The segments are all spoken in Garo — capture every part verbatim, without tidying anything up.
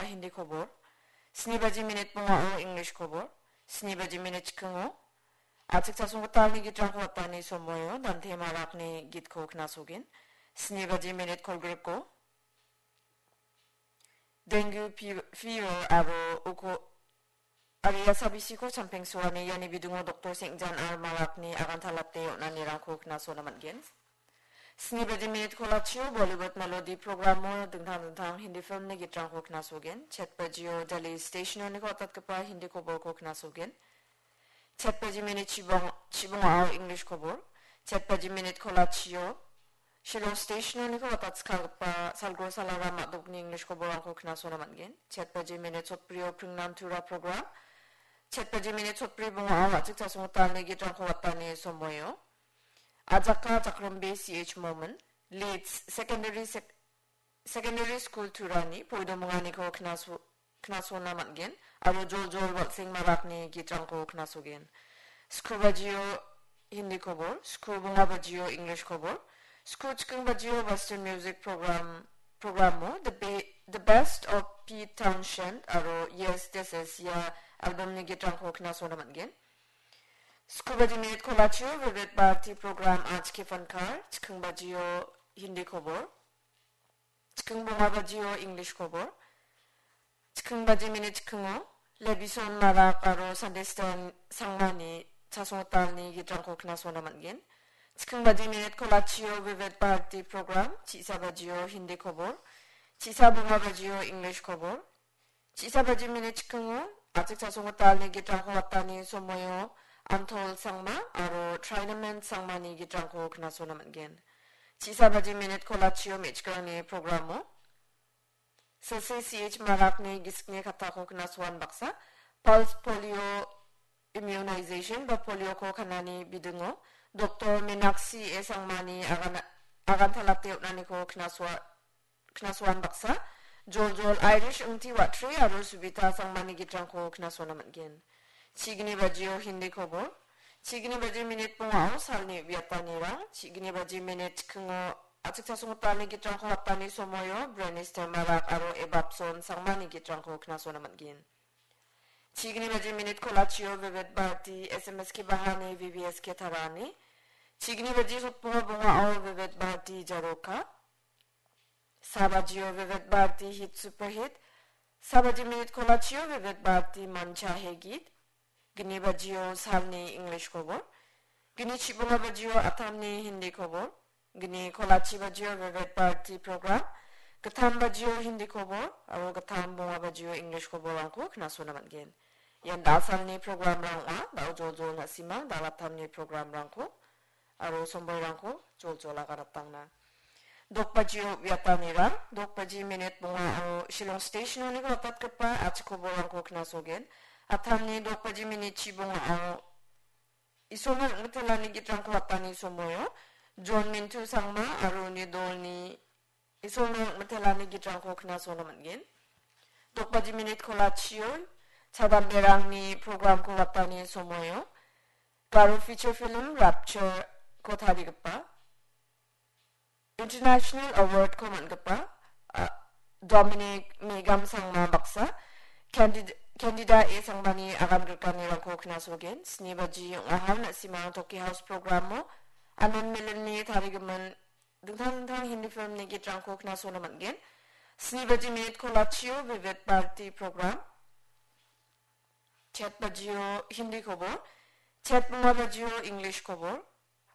Hindi khobor, sni baji minit bongao English khobor, sni baji minit chikingo A·chik chasonggitalni gitrangko watani somoio Dante Marakni gitko knasogen. Sni baji minit kolgrikko Dengue fe-, fever aro uko aro ia sabisiko champengsoani iani bidingo Doktor Sengjan R Marakni agantalate on·anirangko knasona man·gen. Sni baji minit kolachio Bollywood melody programo dingtang dingtang Hindi filmni gitrangko knasogen. Chet bajio Delhi stationoniko watatgipa Hindi koborko knasogen. Chet baji minit chibong-, chibongao English kobor. Chet baji minit kolachio Shillong stationoniko watatskagipa Salgor Salara Madokni English koborrangko knasona man·gen. Chet baji minit sotbrio Pringnan Tura program. Chet baji minit sotbri bongao A·chik chasonggitalni gitrangko watani somoio Ajaka Jakrimbe C H Momin, Leeds Secondary Sec-, Secondary School Turani poidomonganiko knaso-, knasona man·gen, aro joljol Walsing Marakni gitrangko knasogen. Sku bajio Hindi kobor, sku bonga bajio English kobor, sku chiking bajio Western Music Program, programo The Be-, The Best of Pete Townshend aro Yes, This Is Ya albumni gitrangko knasona man·gen. Sku baji minit kolachio Vivid Bharati program Aaj Ke Fankar, chiking bajio Hindi kobor, chiking bonga bajio English kobor, chiking baji minit chikingo Lebison Marak aro Sandestan Sangmani chasonggitalni gitrangko knasona man·gen. Chiking baji minit kolachio Vivid Bharati program, chisa bajio Hindi kobor, chisa bonga bajio English kobor, chisa baji minit chikingo A·chik chasonggitalni gitrangko watani somoio Antol Sangma aro Trinamen Sangmani gitrangko knasona man·gen. Chisa baji minit kolachio me·chikrangni programo Silse C H Marakni gisikni kattako knasoan baksa, pulse polio immunization ba polioko kanani bidingo Doktor Meenakshi A Sangmani agan-, agantalate on·aniko knasoa-, knasoan baksa, joljol Irish Ingti Watri aro Subita Sangmani gitrangko knasona man·gen. Chigni bajio Hindi kobor, chigni baji minit bongao salni uiatanirang, chigni baji minit chikingo A·chik chasonggitalni gitrangko watani somoio Brenis Temarak aro Ebapson Sangmani gitrangko knasona man·gen. Chigni baji minit kolachio Vivid Bharati S M S ke bahani V V S ke tarani. Chigni baji sotbonga bongao Vivid Bharati Jaroka. Sa bajio Vivid Bharati Hit Super Hit. Sa baji minit kolachio Vivid Bharati Mancha Hegit. Gni bajio salni English kobor. Gni chibonga bajio Athamni Hindi kobor. Gni kolachi bajio Vivid Bharati program. Gittam bajio Hindi kobor. Aro gittam bonga bajio English koborrangko knasona man·gen. Ian da·salni programrang ong·a. Da·o joljol na·simang da·alaptamni programrangko aro somboirangko joljol agaratangna. Dokbajio uiatanirang, dokbaji minit bongao Shillong stationoniko watatgipa A·chik koborrangko knasogen. Athamni dokbaji minit chibongao Isolna rim·mitelani gitrangko watani somoio John Mintu Sangma aro uni dolni Isolna rim·mitelani gitrangko knasona man·gen. Dokbaji minit kolachio chadamberangni programko watani somoio Garo feature film Rapture-ko tarigipa International Award-ko man·gipa, a, Dominic Megam Sangma baksa, Candid-, Candida A Sangmani agan grikanirangko knasogen. Sni baji ong·aha, na·simang Toki House programo Anand Milanni tarigimin dingtang dingtang Hindi filmni gitrangko knasona man·gen. Sni baji minit kolachio Vivid Bharati program. Chet bajio Hindi kobor, chet bonga bajio English kobor,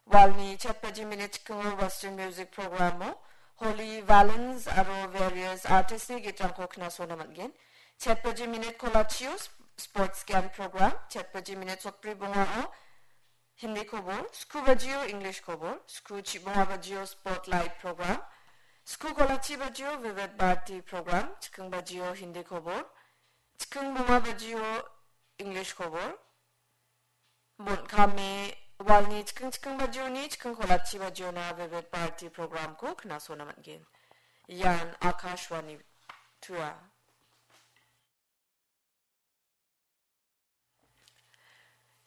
walni chet baji minit chikingo Western Music Programo Holy Valens aro various artistni gitrangko knasona man·gen. Chet baji minit kolachio sp-, Sports Game Program, chet baji minit sotbri bongao Hindi kobor, sku bajio English kobor, sku chibonga bajio Spotlight Program, sku kolachi bajio Vivid Bharati Program, chiking bajio Hindi kobor, chiking bonga bajio English kobor, bon·kame walni chiking chiking bajioni chiking kolachi bajiona Vivid Bharati programko knasona man·gen. Ian Akashvani Tura.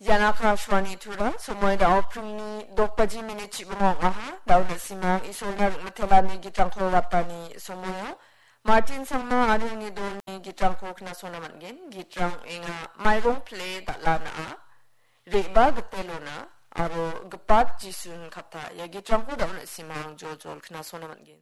Ian Akashvani Tura, somoi da·o pringni dok baji minit chibonga ong·aha, da·o na·simang Isolna rim·mitelani gitrangko watani somoio. Martin Sangma aro uni dolni Gitrangko knasona man·gen. Gitrang ong·enga: Mairong pile dal·a na·a, re·baa gite lona, aro gipat Jisun kata. Ia gitrangko da·o na·simang joljol knasona man·gen.